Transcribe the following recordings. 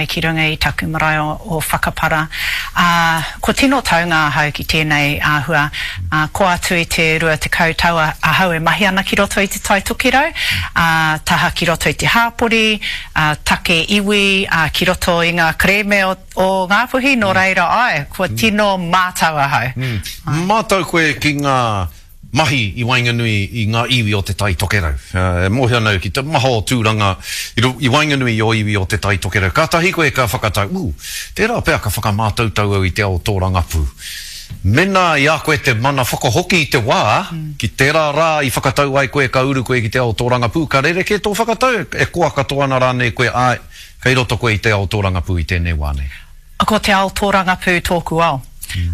Ki runga i taku marae o Whakapara, ā, kua tino taunga ahau ki tēnei āhua, ā, kō atu i te 20 tau ahau e mahi ana ki roto i Te Tai Tokerau, ā, taha ki roto i te hāpori, ā, take iwi, ā, ki roto i ngā kerēme o, o Ngāpuhi, nō reira, āe, kua tino mātau ahau. Mātau koe ki ngā mahi i waenganui i ngā iwi o Te Tai Tokerau. E mōhio ana au ki te maha o tūranga i waenganui i ō iwi o Te Tai Tokerau. Kātahi koe ka whakatau, ū, tērā pea ka whakamātautau au i te ao tōrangapū. Mēnā i a koe te mana whakahoki i te wā, ki tērā rā i whakatau ai koe ka uru koe ki te ao tōrangapū, ka rerekē tō whakatau, e koa katoa ana rānei koe, āe, kei roto koe i te ao tōrangapū i tēnei wā nei. Ko te ao tōrangapū tōku ao.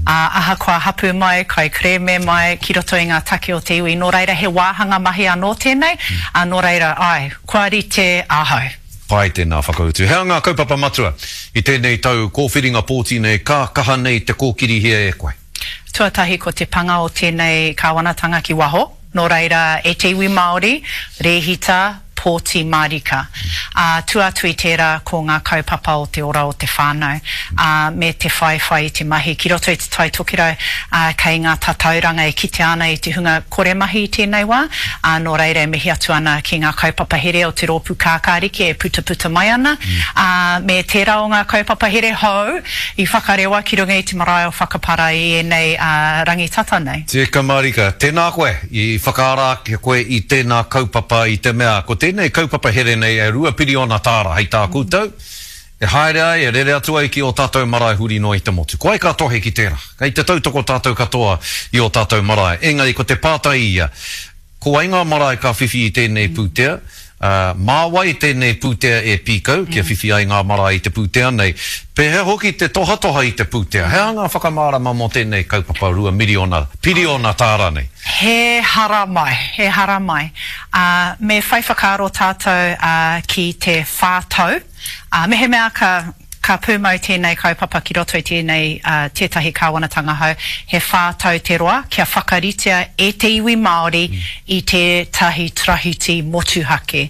Ā, ahakoa hapū mai, kaikerēme mai, ki roto i ngā take o te iwi. Nō reira, he wāhanga mahi anō tēnei, ā, nō reira, āe, kua rite ahau. Pai tēnā whakautu. He aha ngā kaupapa matua i tēnei tau kōwhiringa pōti nei ka kaha nei te kōkirihia e koe? Tuatahi ko te panga o tēnei kāwanatanga ki waho, nō reira e te iwi Māori, rēhita, pōti mārika. Ā, tua atu i tērā ko ngā kaupapa o te ora o te whānau, ā, me te whaiwhai i te mahi ki roto i Te Tai Tokerau, ā, kei ngā tatauranga e kitea ana i te hunga kore mahi i tēnei wā, ā, nō reira e mihi atu ana ki ngā kaupapa here o te Rōpū Kākāriki e putaputa mai ana, ā, me tērā o ngā kaupapa here hou I whakarewa ki runga i te marae o Whakapara i ēnei rangi tata nei. Tika marika, tēnā koe, i whakaara ake koe i tēnā kaupapa i te mea ko tēnei kaupapa here nei e 2 piriona tāra hei tā koutou, e haere ai, e rere atu ai ki ō tātou marae huri noa i te motu. Ko wai ka tohe ki tērā? Kei te tautoko tātou katoa i ō tātou marae. Engari ko te pātai ia, Ko wai ngā marae ka whiwhi i tēnei pūtea? Ā, mā wai tēnei pūtea e pīkau kia whiwhi ai ngā marae i te pūtea nei? Pēhea hoki te tohatoha i te pūtea? He aha ngā whakamārama mō tēnei kaupapa 2 miriona, piriona tāra nei? He haramai, he haramai. Ā, me whai whakaaro tātou, ā, ki te whā tau. Ā, mehemea ka, Ka pūmau tēnei kaupapa ki roto i tēnei tētahi kāwanatanga hou, he 4 tau te roa kia whakaritea e te iwi Māori i tētahi tarahiti motuhake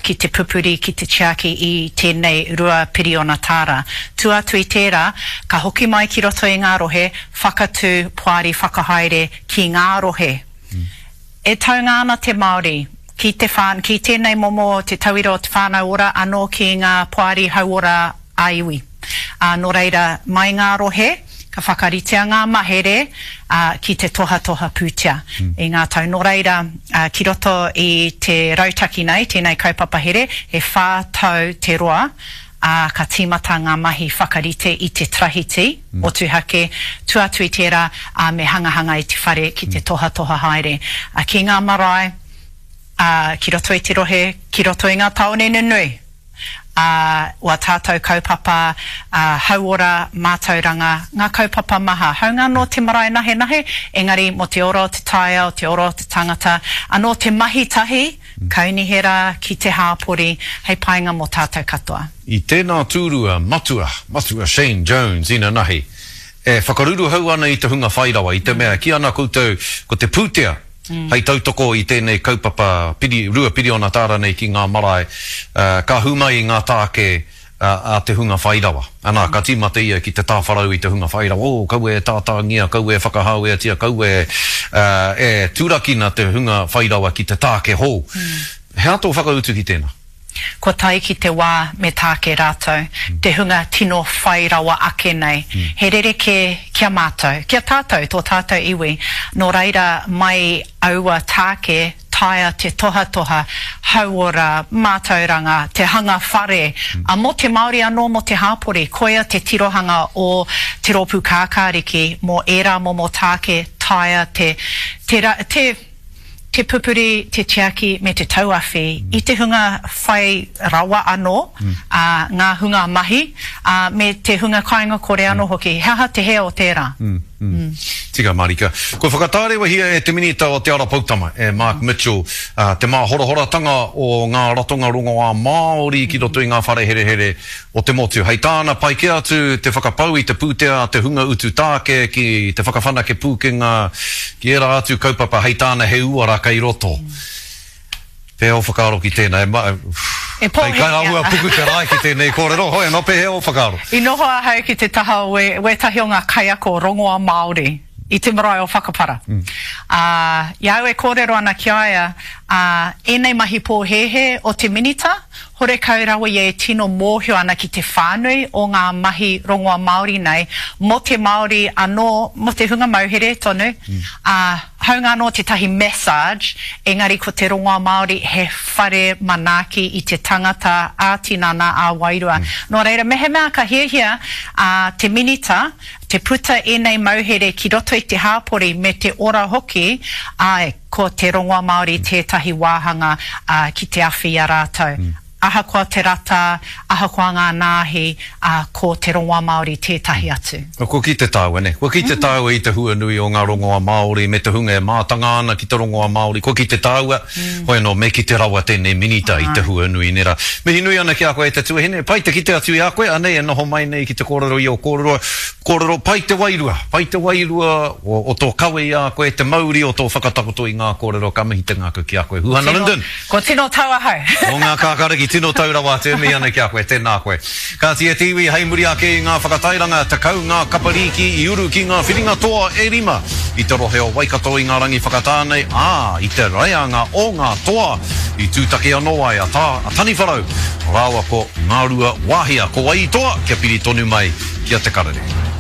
ki te pupuri, ki te tiaki i tēnei 2 piriona tāra. Tua atu i tērā, ka hoki mai ki roto i ngā rohe, whakatū poari whakahaere ki ngā rohe. E taunga ana te Māori ki te whān, ki tēnei momo te tauira o te whānau ora anō ki ngā poari hauora ā-iwi. Ā, nō reira, mai ngā rohe, ka whakaritea ngā mahere, ā, ki te tohatoha pūtea i ngā tau. Nō reira, ā, ki roto i te rautaki nei, tēnei kaupapa here, he 4 tau te roa, ā, ka tīmata ngā mahi whakarite i te tarahiti motuhake, tua atu i tērā, ā, me hangahanga i te whare ki te tohatoha haere, ā, ki ngā marae, ā, ki roto i te rohe, ki roto i ngā tāone nunui, ā, wā tātou kaupapa, ā, hauora, mātauranga, ngā kaupapa maha, hāunga anō te marae nahenahe, engari mō te ora o te taiao, te ora o te tangata, anō te mahi tahi, Kaunihera ki te hāpori hei painga mō tātou katoa. I tēnā tūrua, Matua, Matua Shane Jones inanahi, e whakaruruhau ana i te hunga whairawa, i te mea kī ana koutou ko te pūtea hei tautoko i tēnei kaupapa piri, 2 piriona tāra nei ki ngā marae, ka hū mai i ngā tāke a te hunga whai rawa. Anā, ka tīmata ia ki te tāwharau i te hunga whai rawa, oh, kaua e tātāngia, kaua e whakahāweatia, kaua e, e turakina te hunga whai rawa ki te tāke hou. He aha tō whakautu ki tēnā? Kua tae ki te wā me tāke rātou, te hunga tino whai rawa ake nei. He rerekē ki a mātou, ki a tātou, tō tātou iwi. Nō reira, mai aua tāke, taea te tohatoha, hauora, mātauranga, te hanga whare, ā, mō te Māori anō, mō te hāpori. Koia te tirohanga o Te Rōpū Kākāriki mō ērā momo tāke taea te, te, te, te pupuri, te tiaki me te tauawhi i te hunga whai rawa anō, ā, ngā hunga mahi, ā, me te hunga kāinga kore anō hoki. He aha te hē o tērā? Tika marika. Kua whakatārewahia e te Minita o Te Ara Poutama, e Mark Mitchell, te māhorohoratanga o ngā ratonga rongoā Māori ki roto i ngā whare herehere o te motu. Hei tāna, pai kē atu te whakapau i te pūtea a te hunga utu tāke ki te whakawhanake pūkenga ki ērā atu kaupapa, hei tāna he uara kei roto. Pēhea ō whakaaro ki tēnā? E ma, E kei pōhēhē āhua ana. puku te rae ki tēnei kōrero, hoi anō, pēhea ō whakaaro? I noho ahau ki te taha o wē, wētahi o ngā kaiako rongoa Māori i te marae o Whakapara. Ā, i a au e kōrero ana ki a ia, ā, ēnei mahi pōhēhē o te Minita, horekau rawa ia e tino mōhio ana ki te whānui o ngā mahi rongoa Māori nei, mō te Māori anō, mō te hunga mauhere tonu, ā, Hāunga anō tētahi massage, engari ko te rongoa Māori he whare manaaki i te tangata ā-tinana, ā-wairua. Nō reira, mehemea ka hiahia te Minita te puta ēnei mauhere ki roto i te hāpori me te ora hoki, āe, ko te rongoa Māori tētahi wāhanga ki te awhi i a rātou. Ahakoa te rata, ahakoa ngā nāhi, ā, ko te rongoa Māori tētahi atu. Kua kite tāua, nē? Kua kite tāua i te huanui o ngā rongoa Māori me te hunga e mātanga ana ki te rongoa Māori. Kua kite tāua, hoi anō, me kite rawa tēnei minita i te huanui, nē rā. Mihi nui ana ki a koe e te tuahine, pai te kite atu i a koe, anei e noho mai nei ki te kōrero i ō kōrero, kōrero, pai te wairua, pai te wairua o, o tō kawe i a koe, te mauri o tō whakatakoto i ngā kōrero, ka mihi te ngākau ki a koe. Huhana Lyndon! Kua tino tau ahau. Mō ngā kākāriki tino tau rawa atu e mihi ana ki a koe, tēnā koe. Kāti e te iwi, hei muri ake i ngā whakatairanga, 10 ngā kapa rīki i uru ki ngā whiringa toa e rima i te rohe o Waikato i ngā rangi whakatā nei, ā, i te reanga o ngā toa i tūtaki anō ai a Tā, a Taniwharau rāua ko Ngāruawāhia. Ko wai i toa? Kia piri tonu mai ki a Te Karere.